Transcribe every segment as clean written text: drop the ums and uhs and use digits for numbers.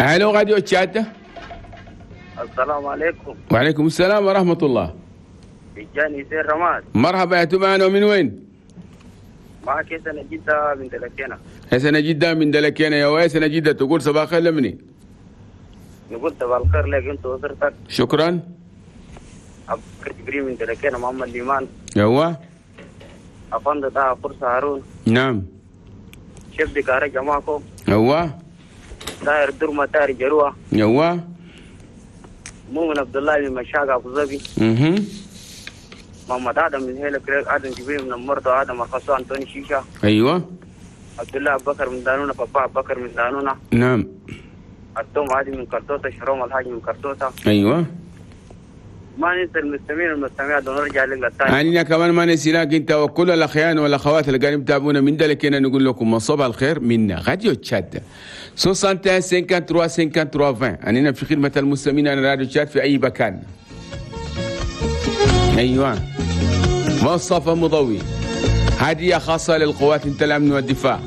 الو راديو تشاد. السلام عليكم. وعليكم السلام ورحمة الله. تجاني سير رماد. مرحبا يا تبعنا، ومن وين؟ معك سنة جدة من دلكينا. سنة جدة من دلكينا. يا سنة جدة، تقول صباح الخير لمني؟ نقول صباح الخير لك انت واسرتك. شكرا. ابو بكر جبريل من دلكينا، محمد ليمان. ايوه. افندي طه فرصة هارون. نعم. شبدي كاري جماعكم. ايوه. داير درمة داير جروة. ايوه. مؤمن عبد الله من مشاقة ابو ظبي. محمد ادم من هيلا كريك، ادم جبريل من المرضى، ادم الخصو انتوني شيشة. ايوه. عبد الله ابو بكر من دانونا، بابا ابو بكر من دانونا. نعم. التوم عادي من كرتوسة، شروم الحاج من كرتوسة. ايوه. ما ننسى المستمعين والمستمعات ونرجع لك للثاني. أنا كمان ما نسيناك انت وكل الاخيان والاخوات اللي قاعدين يتابعونا من دلكينا، نقول لكم صباح الخير من راديو تشاد 61 53 53 20. أننا في خدمة المستمعين على راديو تشاد في أي مكان. أيوة. مصطفى مضوي، هدية خاصة للقوات الأمن والدفاع.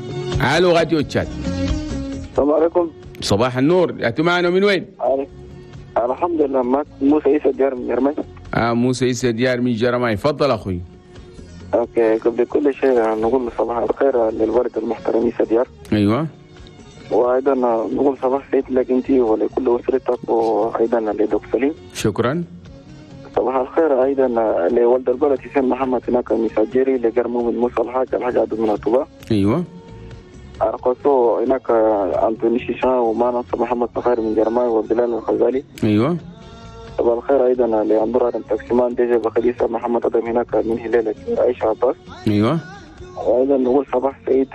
ألو راديو تشاد. السلام عليكم. صباح النور، أنتم معنا من وين؟ الحمد لله، معك موسى عيسى ديار من جرماي. موسى عيسى ديار من جرماي، تفضل أخوي. okay، قبل كل شيء نقول صباح الخير للوالد المحترم عيسى ديار. ايوه. وايضا نقول صباح سعيد لك انت ولكل اسرتك، وايضا لدكتور سليم. شكرا. صباح الخير ايضا لولد البلد حسين محمد هناك من سجيري، لجرمو من موسى الحاج، الحاج عبد من الطباء. ايوه. ارقصو هناك انتوني شيشان، وما ننسى محمد فخير من جرماي، وبلال الخزالي. ايوه. صباح الخير ايضا لأندور ادم تاكسيمان، ديجي بخليسة محمد ادم هناك من هلالك، عائشة عباس. ايوه. وايضا نقول صباح سعيد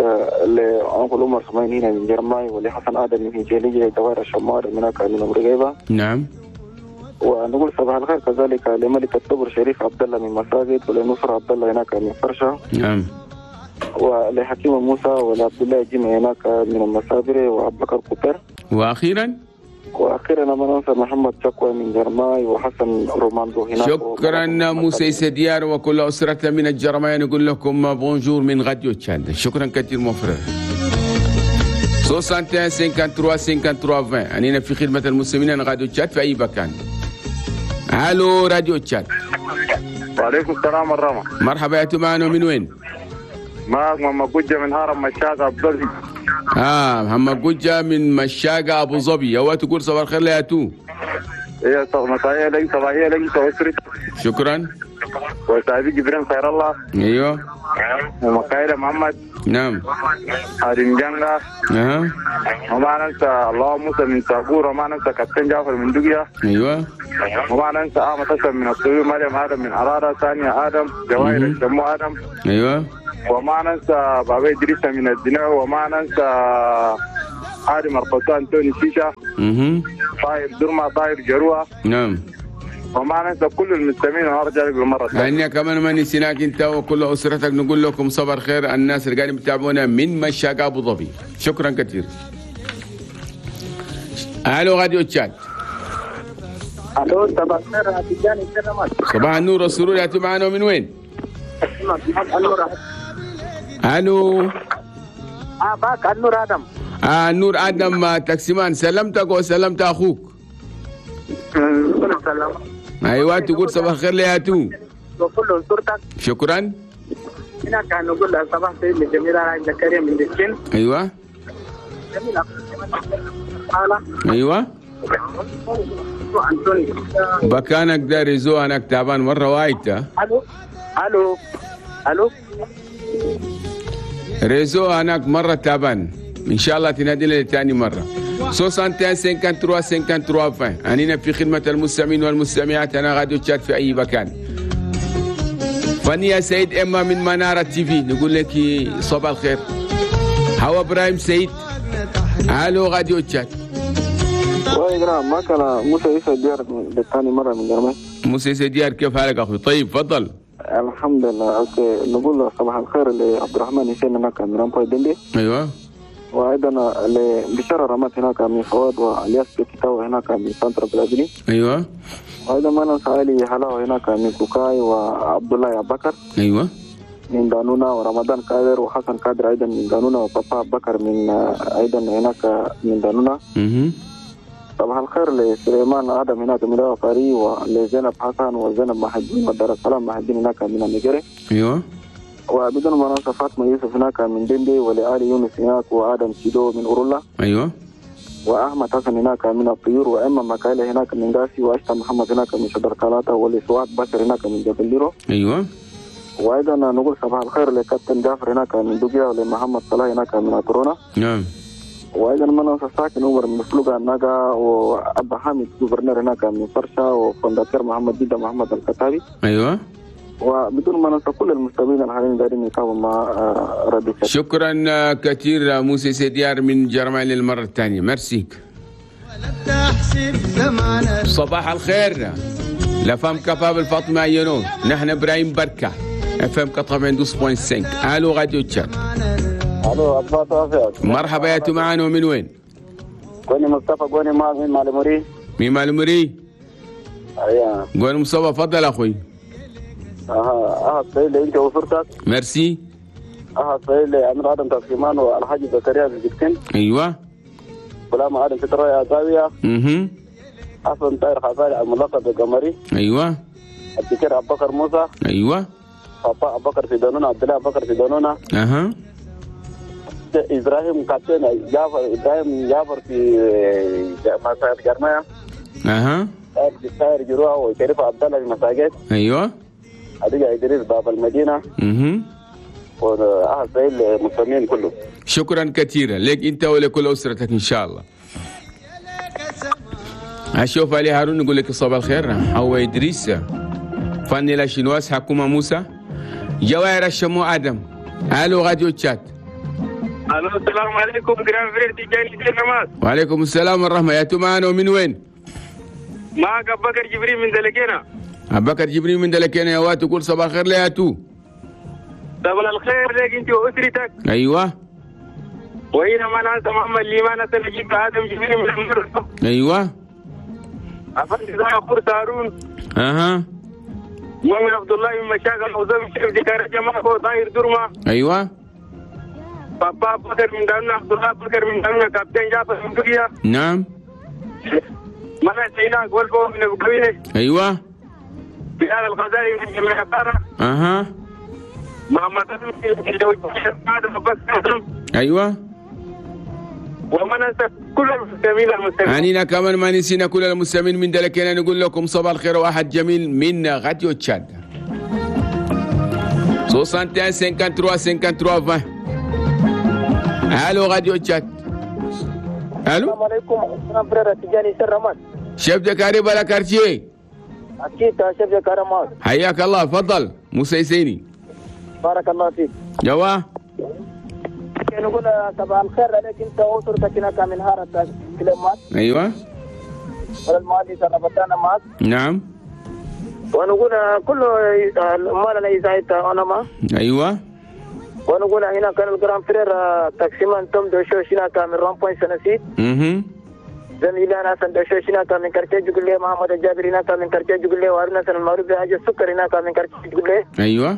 لأنقل عمر سمين هنا من جرماي، ولحسن ادم من هجيلية، دوائر الشمار هناك من ام رقيبه. نعم. ونقول صباح الخير كذلك لملك الصبر شريف عبد الله من مساجد، ولنصر عبد الله هناك من فرشه. نعم. ولحكيم موسى، ولعبد الله جمع هناك من المسابر، وعبد بكر كوبر. واخيرا ما ننسى محمد شكوى من جرماي، وحسن روماندو هناك. شكرا موسى عيسى ديار وكل اسرتنا من الجرماي، نقول لكم bonjour من راديو تشاد. شكرا كثير mon frère. 61 53 53 20. أننا في خدمة المسلمين راديو تشاد في أي مكان. الو راديو تشاد. وعليكم السلام ورحمة. مرحبا يا معنا من وين؟ معك محمد قجة من هرم مشاقة أبو ظبي. محمد قجة من مشاقة أبو ظبي، هو تقول صباح الخير يا تو. إيه مسائية لك، صباحية لك وأسرتك. شكرا. وصاحبي جبرين خير الله. ايوه. ومكايلة محمد. نعم. هارين جنگا. وما ننسى الله موسى من ساقور، وما ننسى كابتن جعفر من دقيا. ايوه. وما ننسى أحمد حسن من الطيور، مريم آدم من عرارة، ثانية آدم، جواهر الشمو آدم. ايوه. وما ننسى بابا إدريس من الدناء، وما ننسى آدم القسان توني شيشة. طاير درما، طاير جروة. نعم. وما ننسى كل المستمعين، وارجع لك بالمرة الثانية. كمان ما نسيناك انت وكل اسرتك، نقول لكم صباح الخير الناس اللي قاعدين يتابعونا من مشاقة ابو ظبي. شكرا كثير. الو راديو تشاد. الو صباح الخير تجاني. صباح النور والسرور، يا معنا من وين؟ الو. باك النور ادم. النور ادم تاكسيمان، سلمتك وسلمت اخوك. ايوه تقول صباح الخير ليا تو وكل صورتك. شكرا. هنا كان نقول صباح الخير لجميلة زكريا من دكين. ايوه. ايوه. بكانك داري زو، انا تعبان مرة وايته. الو الو الو. réseau هناك مرة تعبان، ان شاء الله تنادي لي ثاني مرة. 61 53 53 20. أننا في خدمة المستمعين والمستمعات، أنا راديو تشاد في أي مكان. فنيا سيد إما من منارة تي في، نقول لك صباح الخير. هوا إبراهيم سيد. ألو راديو تشاد. وإجرام ما كان موسى عيسى ديار للثاني مرة من جرماي. موسى عيسى ديار، كيف حالك أخوي؟ طيب تفضل. الحمد لله. okay، نقول صباح الخير لعبد الرحمن حسين هناك من رامبوي دندي. أيوه. وايضا لبشارة رمات هناك من فواد، والياس بكتاو هناك من سانترا بلازلي. ايوه. وايضا ما ننسى علي حلاوة هناك من كوكاي، وعبد الله ابو بكر. ايوه. من دانونا، ورمضان قادر، وحسن قادر ايضا من دانونا، وبابا بكر من ايضا هناك من دانونا. صباح الخير لسليمان آدم هناك من الفاري، ولزينب حسن وزينب محجين ودار السلام محجين هناك من النيجيري. ايوه. وبدون ما ننسى فاطمة يوسف هناك من دندي، ولآلي يونس هناك، وآدم سيدو من أورولا. ايوه. وأحمد حسن هناك من الطيور، وإما مكايلة هناك من غاسي، وأشتا محمد هناك من شجر كالاتا، ولسواد بشر هناك من جبل ليرو. ايوه. وايضا نقول صباح الخير لكابتن جعفر هناك من دوبيا، ولمحمد صلاح هناك من أترونا. نعم. وايضا ما ننسى ساكن عمر من فلوغا ناقا، وابا حامد gouverneur هناك من فرشا، وفندقير محمد جدة محمد الكتابي. ايوه. وبدون ما ننسى كل المستمعين الحاليين دايرين يتابعوا مع راديو. شكرا كثير موسى سيديار من جرمال للمرة الثانية، ميرسيك. صباح الخير la femme capable فاطمة ينون، نحن ابراهيم بركة FM 92.5. الو راديو تشاد. الو أبا. مرحبا يا معانا، ومن وين؟ قوني مصطفى، قوني من مالموري. من مالموري؟ ايوه. قوني مصطفى، تفضل اخوي. اها طيب انت وصورتك. ميرسي. طيب امير ادم تسليمان والحاج زكريا الجبتين. ايوه. غلام ادم ستر يا زاوية. حسن طاهر خزالي الملقب بالقمري. ايوه. الدكتور ابو بكر موسى. ايوه. بابا ابو بكر في دانونا، عبد الله ابو بكر في دانونا. اها. ابراهيم كابتن جعفر، ابراهيم جعفر في مساجد جرمايا. اها. طاهر جروه وشريف عبد الله في مساجد. ايوه. أدي إدريس باب المدينة. وأهل سعيد المسلمين كله. شكرا كثيرا لك أنت ولكل أسرتك إن شاء الله. أشوف علي هارون نقول لك صباح الخير. هو إدريس فني لا شنواس حكومة موسى جواهر الشمو آدم. ألو راديو تشات. ألو السلام عليكم grand frère تيجاني سلامات. وعليكم السلام والرحمة. يا تمان ومن وين؟ معك أبو بكر جبريل من دلكينا. أبو بكر جبريل من دلكينا يا وات، تقول صباح الخير ليا تو. صباح الخير لك انت واسرتك. ايوه. وهنا ما ننسى محمد ليمان نجيب ادم جبريل من المرة. ايوه. افندي فرصة هارون. اها. مؤمن عبد الله من مشاغل وزم شيف دكار جماعة طاهر درما. ايوه. بابا بكر من دارنا، عبد الله بكر من دارنا، كابتن جعفر من تركيا. نعم. ما نسينا قولكم من ابو كبير. ايوه. بلال الغزالي من جميع القارة. اها. محمد ايوه. وما ننسى كل المستمعين المستمعين. عنينا كمان ما نسينا كل المستمعين من دلكنا، نقول لكم صباح الخير واحد جميل من راديو تشاد. 61 53 53 20. الو راديو تشاد. الو. السلام عليكم grand frère تجاني سرمان. chef de carré بلا quartier. اكيد chef de carré معك. حياك الله، تفضل موسى يسيني. بارك الله فيك. جوا. نقول صباح الخير عليك انت واسرتك هناك من هارة كلمات. ايوه. والمالي سنبتانا معك. نعم. ونقول كل مالنا إذا انا ما. ايوه. ونقول هنا كان ال grand frère taximan توم دوشوش هناك من rond-point سنسيت. زميلنا حسن دوشوش هناك من quartier جقلي، محمد الجابر هناك من quartier جقلي، وهارون حسن المعروف بحاج السكر هناك من quartier جقلي. ايوه.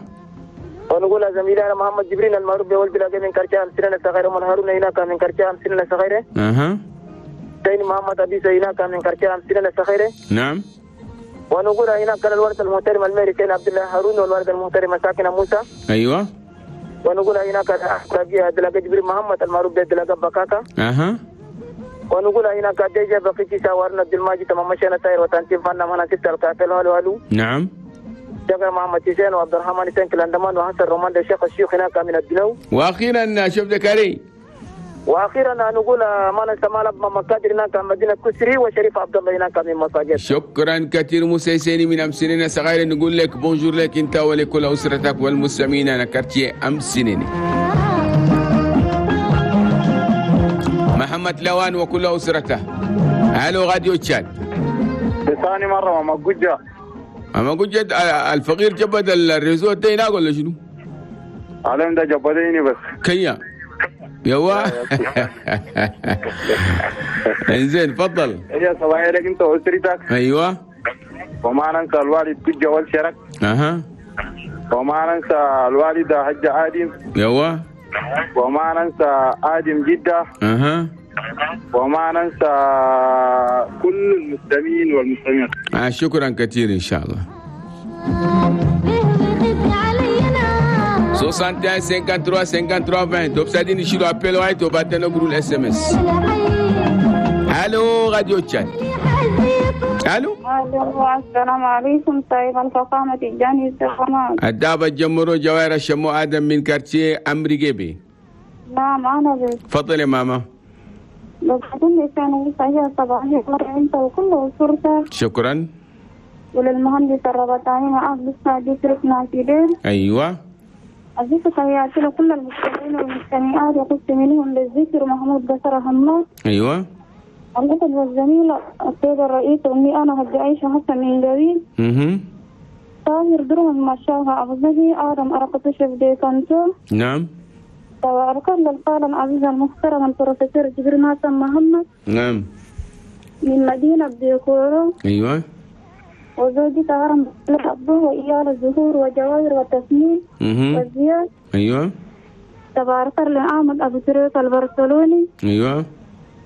ونقول زميلنا محمد جبريل المعروف بولد بلاقي من quartier أمسنة صغيرة، ومن هارون هناك من quartier أمسنة صغيرة. اها. ثاني محمد أبي هناك من quartier أمسنة صغيرة. نعم. ونقول هناك كان الورث المحترم الميري سين عبد الله هارون، والورث المحترم ساكنة موسى. ايوه. ونقول هناك دلاقي جبريل محمد المعروف بدلاقي بكاكا. اها. ونقول هناك ديجا بقيتي ساورنا عبد الماجد تمام مشينا تاير وتنتين فانا مانا ستة الكافل هالو هالو. نعم. جابر محمد حسين وعبد الرحمن حسين كلاندمان وحسن رومان الشيخ الشيوخ هناك من الدنو. واخيرا شوف ذكري. واخيرا نقول ما ننسى مال مكادر هناك مدينة كسري وشريف عبد الله هناك من مساجد. شكرا كثير موسى سيني من امسنين صغير، نقول لك bonjour لك انت ولكل اسرتك والمستمعين. انا quartier امسنين. محمد لوان وكل اسرته. الو راديو تشاد. ثاني مرة ما قجه. اما قجه الفقير جبد ال réseau ده هناك ولا شنو؟ علم ده جبديني بس. كيا يوا. انزين تفضل. يا صباح لك انت واسرتك. ايوه. وما ننسى الوالد قجه والشرك. اها. وما ننسى الوالدة حجه ادم. يوا. وما ننسى ادم جده. اها. وما ننسى كل المسلمين والمسلمين. شكرا كثير إن شاء الله. 61 53 53 20 دوبسادين يشيلوا appel واحد وبعدين نقولوا ال SMS. الو راديو تشاد. الو الو السلام عليكم. طيب الفخامة الجاني السلام. الدابة جمرو جوائر الشمو آدم من quartier أمريكي. نعم أنا بس. تفضلي يا ماما. بقدم لسان صحيح صباحي أنت وكل أسرتك. شكرا. وللمهندس الربطاني معاه لسه دي تركنا في دير. أيوة. أضيف تحياتي لكل المستمعين والمستمعات وقلت منهم للذكر محمود بشر همات. أيوة. الأسد والزميل السيد الرئيس أمي أنا هدي عيشة حسن من جويل. طاهر درهم مشاها أبو ظبي آدم أرقطش في كانتو. نعم. وأركان للقارن عزيز المحترم البروفيسور جبريل حسن محمد. نعم. من مدينة ديكورو. أيوة. وزوجي هرم أبوه وإيال الزهور وجواهر والتسمين والزياد. أيوة. تبارك الله أبو تريك البرشلوني. أيوة.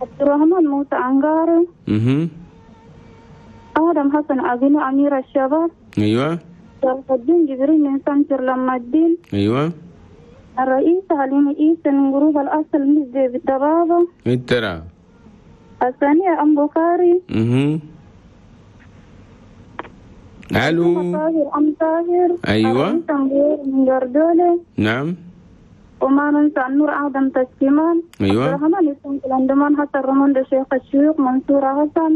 عبد الرحمن موسى أنغاري. آدم حسن أبينو أمير الشباب. أيوة. شرف الدين جبريل من سنتر لما الدين. أيوة. الرئيس حليم عيسى من groupe الأصل مزدي بالدبابة. انترا. الثانية أم بخاري. ألو. طاهر أم طاهر. أيوة. من جردولة. نعم. وما ننسى النور آدم تسكيمان. أيوة. عبد الرحمن يسون كلاندمان حسن رمون شيخ الشيوخ منصور حسن.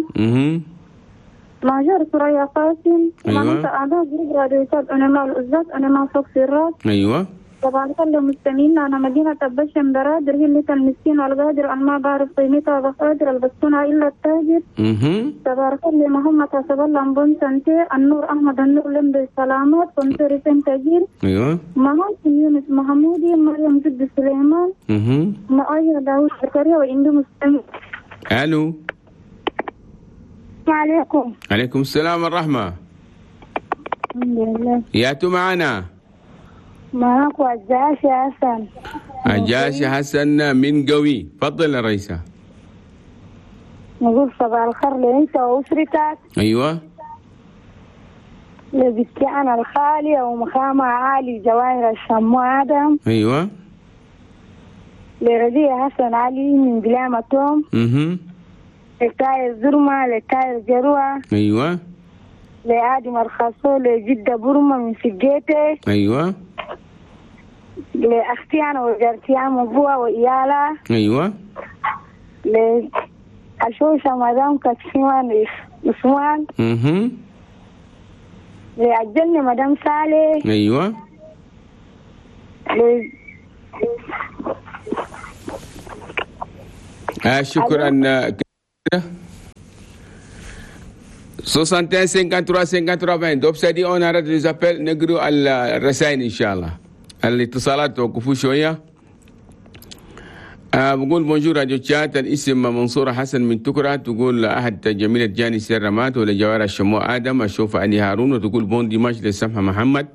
ماجر ثريا قاسم. أيوة. وما ننسى أعضاء groupe راديو تشاد أنا مع الأستاذ أنا مع فوق في الراس. أيوة. طبعا كل المستمعين أنا مدينة أبشم برادر هي اللي المسكين والقادر أنا ما بعرف قيمتها بقادر البسونها إلا التاجر. تبارك الله محمد حسب الله بن سنتي النور أحمد النور لم بالسلامات كنتري سنتجيل. أيوة. مهاتم يونس محمودي مريم جد سليمان. معايا داوود زكريا وعنده مستمع. ألو. السلام عليكم. عليكم السلام والرحمة. الحمد لله. ياتوا معنا. معاك عجاشي حسن. عجاشي حسن من قوي. تفضل يا رئيسة. نقول صباح الخير لأنت وأسرتك. أيوة. لبستي أنا الخالية ومخامة عالي جواهر الشمو آدم. أيوة. لرضيع حسن علي من بلامة توم. لتاير زرمة لتاير جروة. أيوة. لآدم الخاصو لجدة برمة من سجيتي. أيوة. لأختي أنا وجارتي أم أبوها وإيالها. أيوة. لأشوشة مدام كتشيمان عثمان. لأجلني مدام صالح. أيوة. شكرا. 61 53 53 20. دوب سادي on arrête les appels نقروا الرسائل إن شاء الله. الاتصالات توقفوا شوية. بقول bonjour راديو تشات. الاسم منصورة حسن من تكرة. تقول أحد جميلة جاني سيرمات ولا جوار الشمو آدم أشوف أني هارون. وتقول bon dimanche لسمحة محمد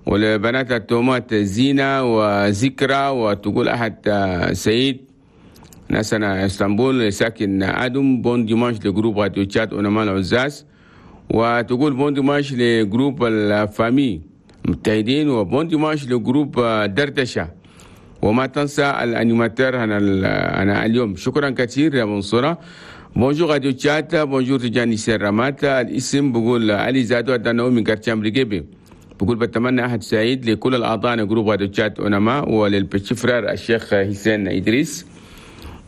ولبنات التومات زينة وذكرى. وتقول أحد سعيد ناسنا اسطنبول ساكن آدم. bon dimanche ل groupe راديو تشات ونمال العزاز. وتقول bon dimanche ل groupe ال famille متحدين. و bon dimanche ل groupe دردشة. وما تنسى ال animateur أنا اليوم. شكرا كثير يا منصورة. bonjour راديو تشات. bonjour تجاني سيرامات. الاسم بقول علي زادو أدنو من quartier أمريكي. بقول بتمنى أحد سعيد لكل الأعضاء groupe راديو تشات ونما ولل petit frère الشيخ حسين إدريس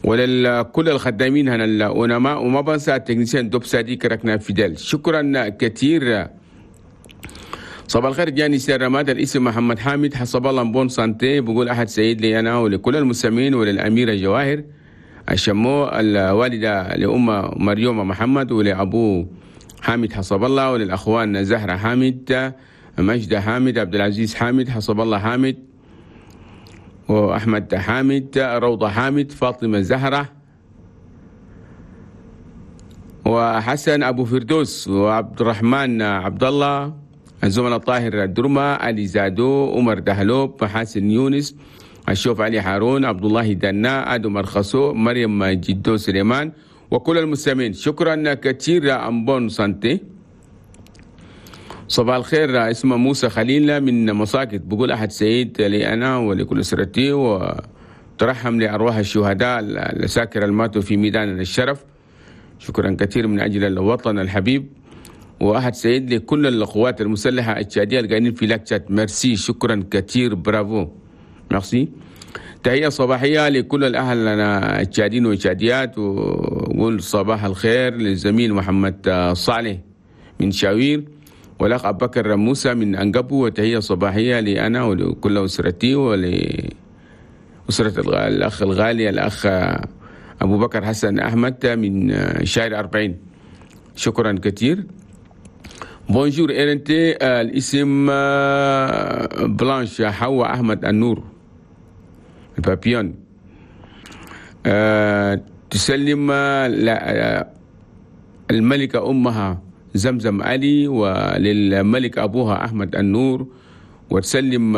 ولكل الخدامين هنا الأونما. وما بنسى ال technicien دوب سادي كركنا فيدل. شكرا كثير. صباح الخير جاني سيرامات. الاسم محمد حامد حسب الله bonne santé. بقول أحد سعيد لي أنا ولكل المستمعين وللأميرة جواهر الشمو الوالدة لأم مريومة محمد ولأبو حامد حسب الله وللأخوان زهرة حامد مجدة حامد عبد العزيز حامد حسب الله حامد وأحمد حامد روضة حامد فاطمة زهرة وحسن أبو فردوس وعبد الرحمن عبد الله الزملاء طاهر الدرمة علي زادو عمر دهلوب محاسن يونس الشوف علي هارون، عبد الله دنا، ادم ارخصو، مريم جدو سليمان، وكل المستمعين. شكرا كثير en bonne santé. صباح الخير، اسمه موسى خليل من مساكت، بقول أحد سعيد لي أنا ولكل أسرتي، وترحم لأرواح الشهداء الساكر الماتوا في ميدان الشرف. شكرا كثير من أجل الوطن الحبيب. وأحد سعيد لكل القوات المسلحة التشادية القاعدين في Lac Tchad. merci، شكرا كثير، bravo، merci. تحية صباحية لكل الأهل التشاديين والتشاديات، وقول صباح الخير للزميل محمد صالح من شاوير، والأخ أبو بكر موسى من أنقبو، وتحية صباحية لي أنا ولكل أسرتي ولأسرة الأخ الغالي الأخ أبو بكر حسن أحمد من شارع 40. شكرا كثير. bonjour RNT، الاسم بلانش حوا أحمد النور البابيون. تسلم الملكة أمها زمزم علي، وللملك أبوها أحمد النور، وتسلم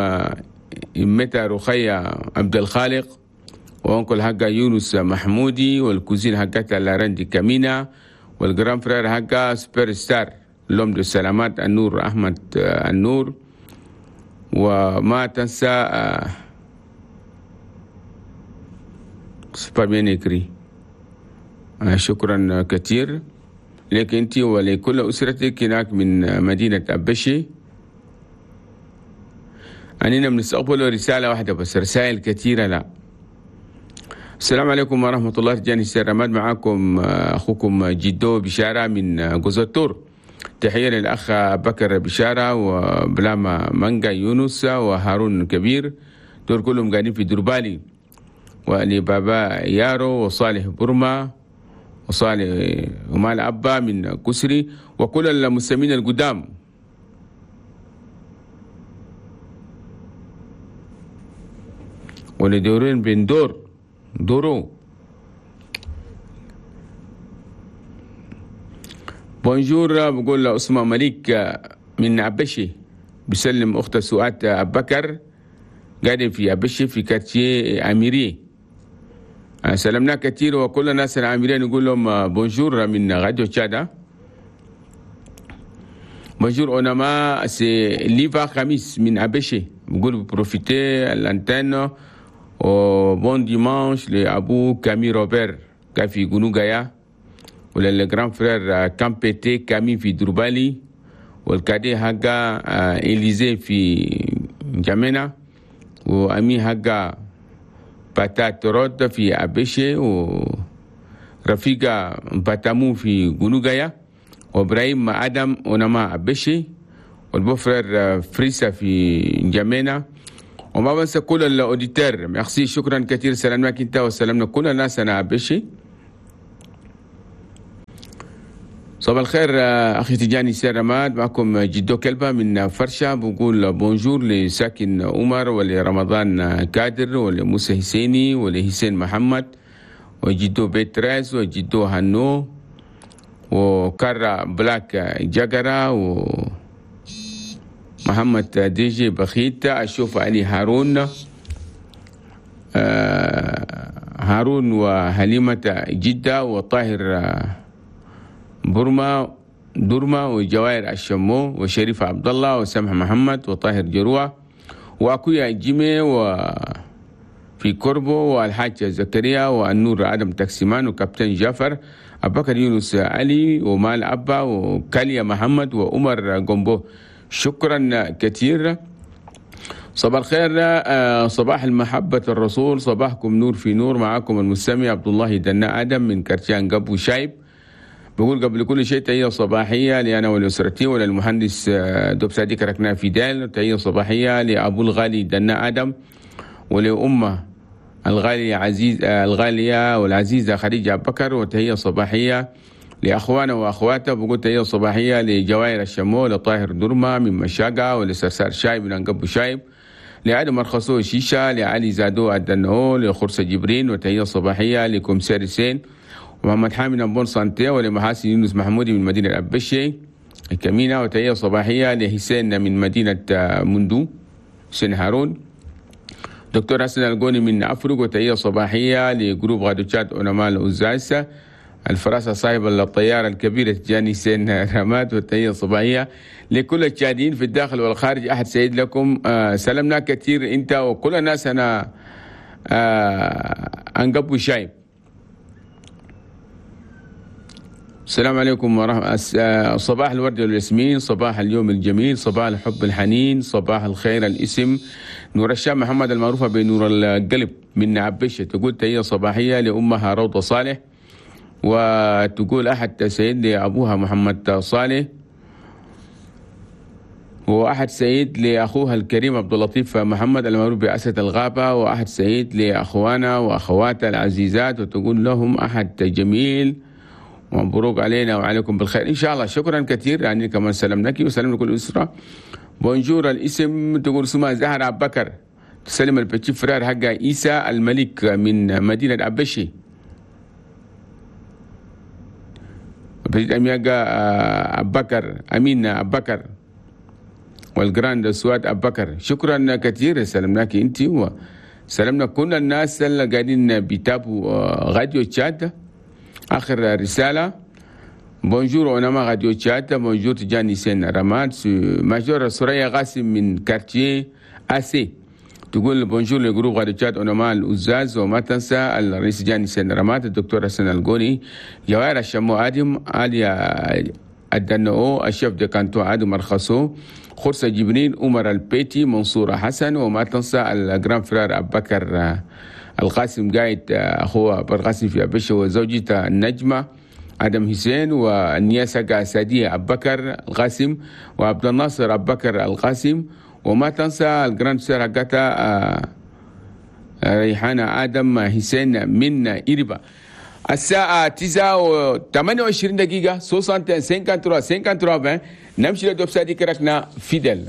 إمتى رخية عبد الخالق، و oncle حقا يونس محمودي، وال cousine حقتها لارندي كامينا، وال grand frère حقا سوبر ستار l'homme de السلامات النور أحمد النور. وما تنسى c'est pas bien écrit. شكرا كثير لك انت ولكل اسرتك هناك من مدينة ابشي. اننا بنستقبل رسالة واحدة بس، رسائل كثيرة لا. السلام عليكم ورحمة الله. رجاني السلامات، معاكم اخوكم جدو بشارة من جوزتور. تحية للاخ بكر بشارة وبلاما مانجا يونس وهارون كبير، دول كلهم قاعدين في دربالي، ولبابا يارو وصالح برما وصالح ومال أبا من كسري، وكل المسلمين القدام. ولدورين بن دور دورو. bonjour، بقول أسماء مليك من عبشي، بسلم أخت سؤال أبكر قاعدين في عبشي في quartier أميري. سلمنا كثير، وكل الناس العاملين نقول لهم bonjour من راديو تشادا. bonjour اونما c'est ليفا خميس من ابشي، بقول profitez l'antenne و bon dimanche لابو كامي روبر كافي غونوغايا، ولا ال grand frère كامبيتي كامي في دربالي، وال cadet حقا اليزي في جامينا، و ami حقا باتات رود في أبشي، ورفيقة باتامو في غونوغايا، وإبراهيم آدم ونما أبشي، وال beau-frère فريسا في جامينا. وما بنسى كل ال auditeurs. merci، شكرا كثير. سلامنا انت وسلامنا كل الناس انا أبشي. صباح الخير أخي تجاني سيرماد، معكم جدو كلبة من فرشة. بقول bonjour لساكن عمر، ولرمضان كادر، ولموسى حسيني، ولحسين محمد، وجدو بيتراس، وجدو هنو، وكارا بلاك جاكرا، ومحمد ديجي بخيت، أشوف علي هارون، هارون وحليمة جدة، وطاهر برما درما، وجوائر الشمو، وشريف عبد الله، وسمح محمد، وطاهر جروة، واكويا جيمي، وفي كوربو، والحاج زكريا، والنور ادم تاكسيمان، وكابتن جعفر، ابو بكر يونس علي، ومال ابا، وكاليا محمد، وعمر جومبو. شكرا كثير. صباح الخير، صباح المحبة الرسول، صباحكم نور في نور. معاكم المستمع عبد الله دنا ادم من كرتيان قبو شايب. بقول قبل كل شيء تحية صباحية لأنا ولأسرتي وللمهندس دوب صديق ركنا في دال، تحية صباحية لأبو الغالي دنا آدم، ولأمه الغالية عزيز الغالية والعزيزة خديجة بكر، وتحية صباحية لأخوانا وأخواته. بقول تحية صباحية لجوائر الشمو، لطاهر درما من مشاقة، ولسرسار شايب من أنقبو شايب، لعدم مرخصو شيشة، لعلي زادو الدنهو، لخرسة جبرين، وتحية صباحية لكمساري سين ومحمد حامد en bonne santé، ولمحاسن يونس محمودي من مدينة أبشي الكمينة، وتحية صباحية لحسين من مدينة مندو حسين هارون. دكتور حسن القوني من أفرق، وتحية صباحية ل groupe راديو تشاد علماء الأزاز، الفراسة صاحب الطيارة الكبيرة تجاني سين رماد، والتحية الصباحية لكل التشاديين في الداخل والخارج. أحد سعيد لكم، سلمنا كثير أنت وكل الناس. أنا أنقبو شايب. السلام عليكم ورحمة صباح الورد والياسمين، صباح اليوم الجميل، صباح الحب الحنين، صباح الخير. الاسم نور الشام محمد المعروفة بنور القلب من عبشة، تقول تحية صباحية لأمها روضة صالح، وتقول أحد سيد لأبوها محمد صالح، وأحد سيد لأخوها الكريم عبد اللطيف محمد المعروف بأسد الغابة، وأحد سيد لأخوانا وأخواتها العزيزات، وتقول لهم أحد جميل ومبروك علينا وعليكم بالخير إن شاء الله. شكرا كثير، يعني كمان سلام لك وسلام لكل الأسرة. bonjour الاسم تقول اسمها زهرة أبو بكر، تسلم ال petit frère حق عيسى الملك من مدينة عبشي، petite amie أبو بكر أمين أبو بكر، وال grande سواد أبو بكر. شكرا كثير، سلمناك أنت وسلمنا كل الناس اللي قاعدين بيتابعوا راديو تشاد. آخر رسالة، bonjour علماء راديو تشاد، bonjour تجاني سين رماد، major سوريا قاسم من quartier أسي، تقول bonjour ل groupe راديو تشاد علماء الأزاز، وما تنسى الرئيس جاني سين رماد، الدكتور حسن القوني، جوائر الشمو آدم، آليا الدنو، ال chef de canton آدم مرخصو، خرسة جبرين، عمر البيتي، منصور حسن، وما تنسى ال grand frère أبو بكر القاسم قايد أخوه بالقاسم في أبشة، وزوجته النجمة آدم حسين، والنياسة سادية أبو بكر القاسم، وعبد الناصر أبو بكر القاسم، وما تنسى ال grande sœur حقتها ريحانة آدم حسين من إربا. الساعة 9:28 53 53 20 نمشي لدوب سادي كركنا فيدل.